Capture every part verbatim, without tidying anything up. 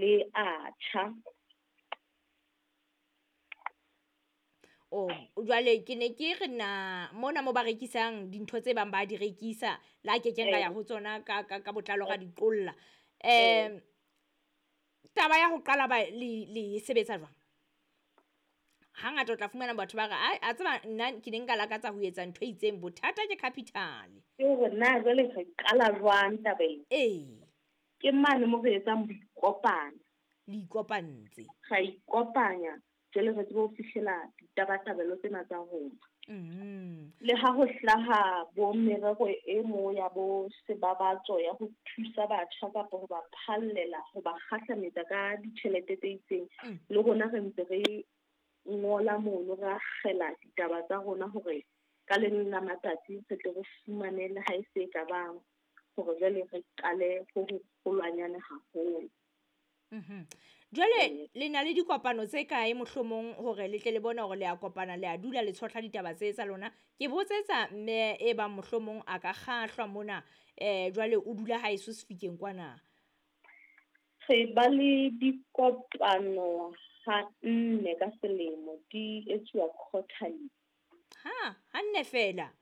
le a tjha. O jwale ke ne ke re na mona mo ba rekisang dintho tse bang ba di rekisa la ke keng ka ya ho tsona ka ka ka botlalo ga di qolla. Em taba ya ho qala ba le le sebetsa jwang? Hangata o tla fumana batho ba re ai a tseba nna ke ne nka lakatsa ho etsa ntho e itseng, bothata ke capital. Ke hore na jwale re qala jwang tabeng? Ee. Ke mane mo re etsang boikopano. Le ikopantse. Ra ikopanya jwale re tsebe ho fihlela ditabatabelo tsena tsa rona. Mm. Le ha ho hlaha bo merero e mo ya bo sebabatso ya ho thusa batjha kapa ho ba phallela, ho ba kgahlametsa ka ditjhelete tse itseng, Mm. le rona re ntse re ngola mono, re akgela ditaba tsa rona hore ka le leng la matsatsi re tle re fumane le ha e se e ka bang hore jwale re qale ho ho holwanyane haholo. Mhm. Jwale le na le dikopano tse kae mohlomong hore le tle le bone hore le a kopana, le a dula le tshohla ditaba tse tsa lona? Ke botsetsa mme e bang mohlomong a ka kgahlwa mona, eh jwale o dula haeso Sefikeng kwana. Re ba le dikopano ha nne ka selemo, di etsuwa quarterly. Ha, ha nne fela?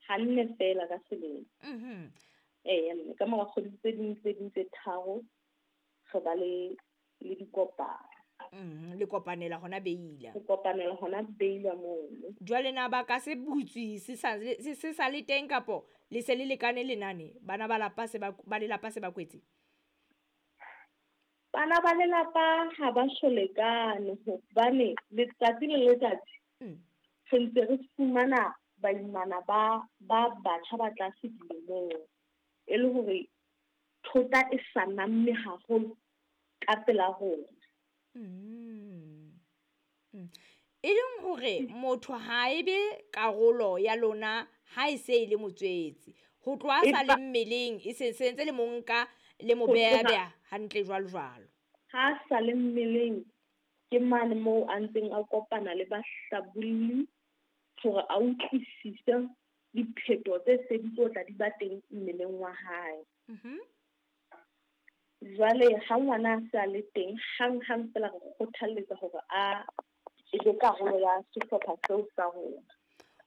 Ha nne fela ka selemo. Mhm. Eh, mme ka mora kgwedi tse ding tse ding tse tharo re ba le, le dikopano. Mhm, le kopanela hona Beila. Re kopanela hona Beila mono. Jwale na ba ka se butswe se sa, se, se sa le teng kapo le se le lekane lenane? Bana ba lapa se ba, ba lelapa se ba kwetse? Bana ba lelapa ha ba so lekane hobane letsatsi le letsatsi Mm. re ntse re fumana baimana ba, ba batjha ba tlase dilemong, e le hore thota e sa namme haholo ka pela rona. Mm. Mm. E leng hore motho ha e be karolo ya lona ha e se e le motswetse. Ho tloha a sa le mmeleng, e se, se ntse le mo nka le mo Ho beha tloha beha hantle jwalo jwalo. Ha a sa le mmeleng, ke mane moo a ntseng a kopana le bahlabolli hore a utlwisise diphetoho tse se di tlo tla di ba teng mmeleng wa hae. Mhm. Jwale ha ngwana a se a le teng, hang hang fela re kgothalletsa hore a e be karolo ya sehlopha seo sa rona.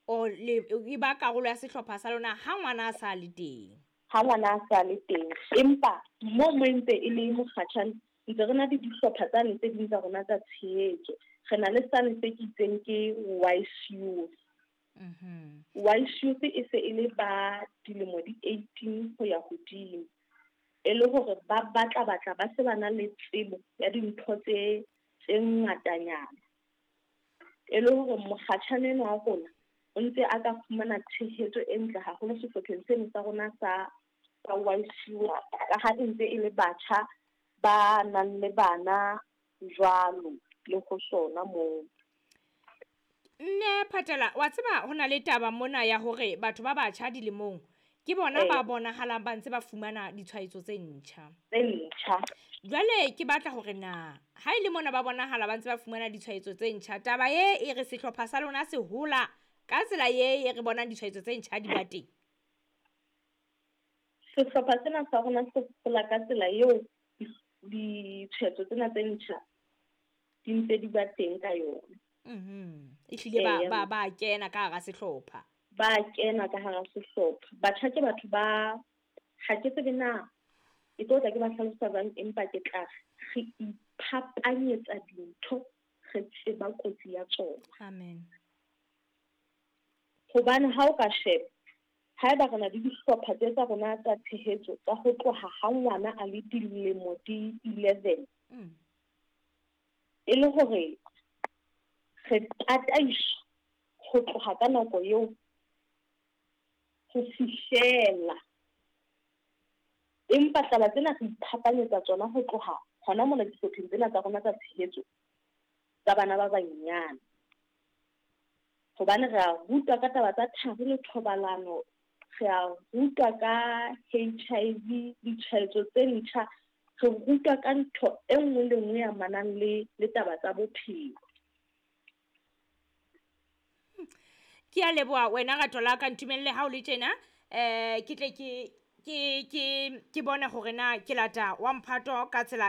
O le e ba karolo ya sehlopha sa lona ha ngwana a sa le teng. Ha ngwana a sa le teng, empa mo mo ntse e le mokgatjhane, ntse re na le dihlopha tsane tse ding tsa rona tsa tshehetso. Re na le sane se ke itseng ke Wise Youth. Mhm. Wise Youth e se e le ba dilemo di eighteen ho ya hodimo. E le hore ba batla batla ba se ba na le tsebo ya dintho tse, tse ngatanyana. E le hore mokgatjhane enwa wa rona o ntse a ka fumana tshehetso e ntle haholo sehlopheng seno sa rona sa, sa Wise Youth, ka ha e ntse e le batjha ba nang le bana jwalo le ho sona moo. Mme Phatela, wa tseba ho na le taba mona ya hore batho ba batjha dilemong ke bona Ee. ba bonahalang ba ntse ba fumana ditshwaetso tse ntjha. Tse ntjha. Jwale ke batla hore na ha e le mona ba bonahala ba ntse ba fumana ditshwaetso tse ntjha, taba e e re sehlopha sa lona se hola ka tsela e e re bonang ditshwaetso tse ntjha di ba teng? Sehlopha sena sa rona se hola ka tsela eo ditshwaetso tsena tse ntjha di ntse di ba teng ka yona. Mhm. Ehlile ba, Ee. ba, ba kena ka hara sehlopha. Ba kena ka hara sehlopha. Batjha ke batho ba, ha ke tsebe na ke tlo tla ke ba hlalosa jwang, empa ke tla re iphapanyetsa dintho, re tseba kotsi ya tsona. Amen. Hobane ha o ka sheba, haeba re na le dihlopha tse tsa rona tsa tshehetso tsa ho tloha ha ngwana a le dilemo di eleven, Mm. e le hore re tataiswa ho tloha ka nako eo ho fihlela. Empa taba tsena re iphapanyetsa tsona ho tloha hona mona dihlopheng tsena tsa rona tsa tshehetso tsa bana ba banyenyane. Hobane re a rutwa ka taba tsa thari le thobalano, re a rutwa ka H I V, ditshwaetso tse ntjha, re rutwa ka ntho e nngwe le nngwe e amanang le, le taba tsa bophelo. Ke a leboha wena rato la ka, ntumelle ha o le tjena, eh, ke tle ke, ke, ke, ke bone hore na ke lata wa mphato ka tsela